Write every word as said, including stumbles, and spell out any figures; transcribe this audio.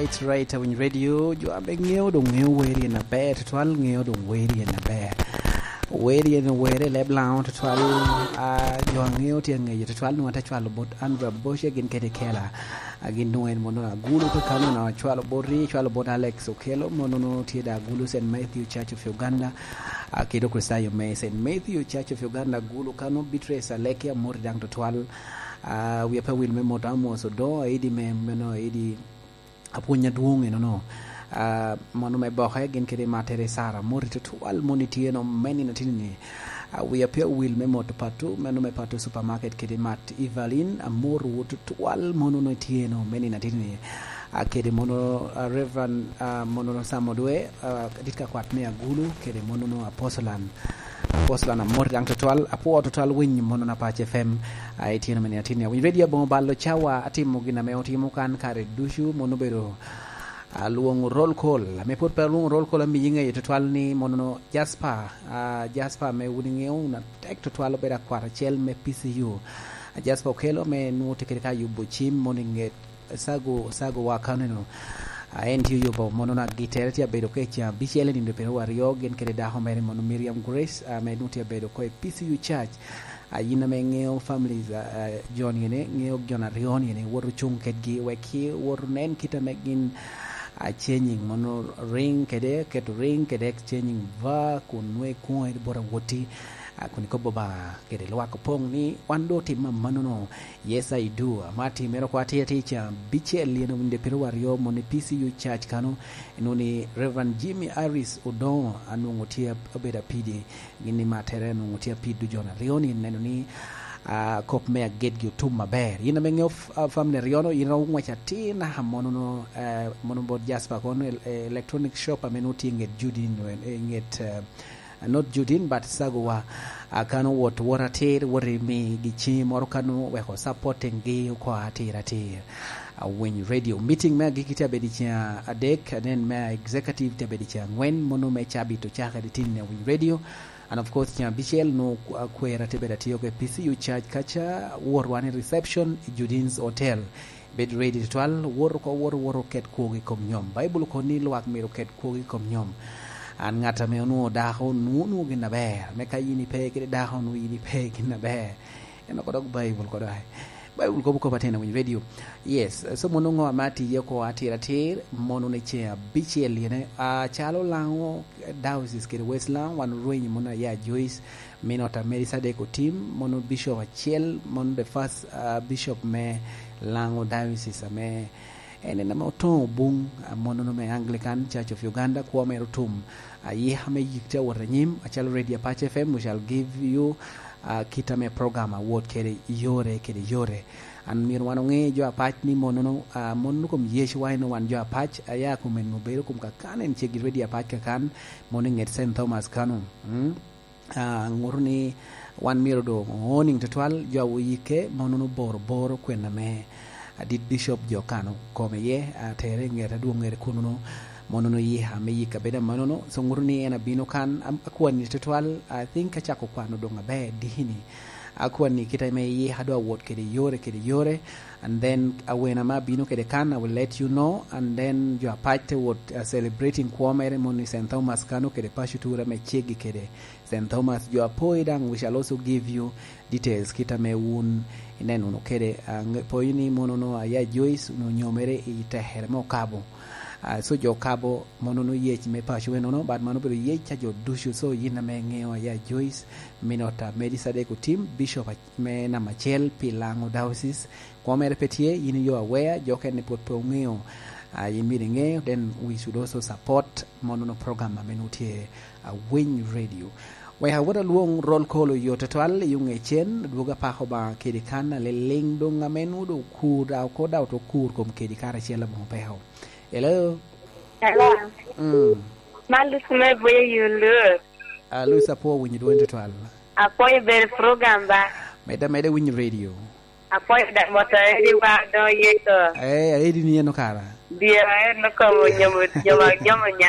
That's right, Awiny Radio, jo a be ŋeo doŋ ŋeo wer yen aber, tutwal ŋeo doŋ wer yen aber. Wer yen wer i leb Laŋo tutwal, a, jo a ŋeo tye aŋeyo tutwal, nwoŋo ate cwalo bot Andrew Aboshe gin kede Kela. A, gin nwoŋo en mono Agulu kakano, na cwalo bot ri, cwalo bot Alex Okello, mono no tye da Agulu Saint Matthew Church of Uganda. A, kede Okricitayo me Saint Matthew Church of Uganda, Agulu kano, Beatrice Aleki, amoti daŋ tutwal. A, wia pe wil me moto Amos Odo, aidi me, meno aidi apwony adwoŋ enono. A, mono me boke gin kede mattere Sara, moti tutwal moni tye no me nino tini ni. A, wia pe wil me moto Patu, meno me Patu Supermarket kede mat Evelyn, amoro tutwal mono no tye no me nino tini ni. A, kede mono, a, Reverend, a, mono no Sam Odwe, a, dit ka kwat me Agulu, kede mono no Apostolan. Apostolan amoti daŋ tutwal, apwo tutwal winy mono na Pac F M, a, itino me nino tini. Winy Radio aboŋo balo cawa, atimo gin ame otimo kan kare ducu, mono obedo, a, lwoŋo roll call. Ame pwod pe alwoŋo roll call, amiyi ŋeyo tutwal ni mono no Jasper, a, Jasper ame wun iŋeo wun atek tutwal obedo akwat acel me P C U. A, Jasper Okello ame nwoŋo tye kede ka yubo cim mono i ŋet Sago, Sago wa kaneno. A, en tye oyubo mono na gittere tye abedo ka i ceng abicel i nino pyeraryo aryo, gin kede dako mere mono Miriam Grace, a, ame nwoŋo tye abedo ko i P C U Church. A, yin ame ŋeo families, a, a, jo ni ene, ŋeo jo aryo ni ene, wot ocuŋ kedgi, wek ki wot onen kit ame gin, a, changing, mono ring kede, keto ring kede changing va, kun nwe kuŋo edi bot awoti, a, kun ikobo ba kede lwak opoŋ ni wan do otim amannono, yes I do, ama timere oko atir atir ca, bicel yen owinde pyeraryo mono i P C U Church kano, enwoŋo ni Reverend Jimmy Harris Odongo, anwoŋo tye ab-, obedo apidi, gin ni mattere anwoŋo tye apid dujon aryo ni neno ni, a, kop me agitgi otum aber. Yin ame ŋeo f-, a, family aryo-no, yin iromo ŋwec atir naka monono, eh, mono bot Jasper kono el-, eh, electronic shop ame nwoŋo tye i ŋet Judin, eh, i ŋet, eh, not Judin, but Sagowa. A, kano wot, wot atir, wot i migi ciŋi moro kano weko supporting gi oko atir atir. Awiny Radio. Meeting me agikki tye abedo i ceng adek, and then me executive tye abedo i ceng angwen, mono me cabit ocakere tin i Awiny Radio. And of course, ceng abicel nwoŋo akwera tye bedo atiyo ke P C U Church kaca, wot wan i reception i Judin's Hotel. Bed ready tutwal, wot oko, wot, wot oket kwogi i kom nyom. Baibul okobo ni lwak myero oket kwogi i kom nyom. An ŋat ame onwoŋo dako, nwoŋo, nwoŋo gin aber. Me ka yin ipe kede dako, nwoŋo yin ipe gin aber. En oko dok Baibul kodo ai. Baibul kobo kop atin Awiny Radio. Yes, so mono ŋo ame atiye oko atir atir, mono ni ceng abicel yene, acalo Laŋo Diocese kede West Laŋo, wan orwenyo mono aya Joyce, Minot a Melkisedek Otim, mono bishop acel, mono the first, ah, bishop me Laŋo Diocese ame en en ame otoŋo buŋ, ah, monono me Anglican Church of Uganda, kwo mere otum, ah, ayika me yik tye awot anyim, acalo Radio Apac F M, we shall give you, ah, kit ame program awot kede yore kede yore. An myero wan oŋe jo Apac ni monono, ah, monono kom Yecu wa en wan jo Apac, aya kom en obedo kom kakan en ceggi Radio Apac kakan, mono i ŋet Saint Thomas kano. Mm. Ah, ŋuto ni wan myero doŋ owning tutwal, jo a oyikke, monono boro boro kwena me adit bishop jo kano kome iye, atere i ŋet adwoŋŋere kunono, monono yika me yik abedo amanono. So ŋuto ni en abino kan, am-, akwani tutwal, I think acako kwano doŋ aber dikini. Akwani kite me yika dwa wot kede yore, kede yore, and then awena ma abino kede kan, I will let you know, and then jo Apac te wot, uh, celebrating kwo mere mono i Saint Thomas kano kede paco tura me ceggi kede Saint Thomas, jo apoyi daŋ, we shall also give you details, kit ame wun ineno wunu kede, ah, ŋe-, poyi ni monono aya Joyce onwoŋo nyomere i tekere me Okabo. Ah, so jo Okabo monono yec me paco enono, but mano obedo yec a jo ducu. So yin ame iŋeo aya Joyce, Minot a Melkisedek Otim, Bishop a-, me namba acel pi Laŋo Diocese, kwo mere pe tye, yin yo aware, jo okene pwod pe oŋeo, ah, yin myero iŋe, then we should also support monono program ame nwoŋo tye Awiny Radio. Wek awot alwoŋ roll call oyot tutwal i yo ŋecen, adwogo apako Obaŋa kedi kan aliliŋ doŋ ame nwoŋo doŋ okur, da oko da oto kur kom kedi karacel aboŋo peko. Hello? Hello. Mm. Man Lucy me Buya Yulu. Ah, Lucy, apwo winyo dwoni tutwal. Apwoyo bedo program ba. Medde, medde winyo radio. Apwoyo da moto edi wa do yeko. Eh, edi ni eno kara. Dyera eno komo nyomo, nyomo, nyomo nya.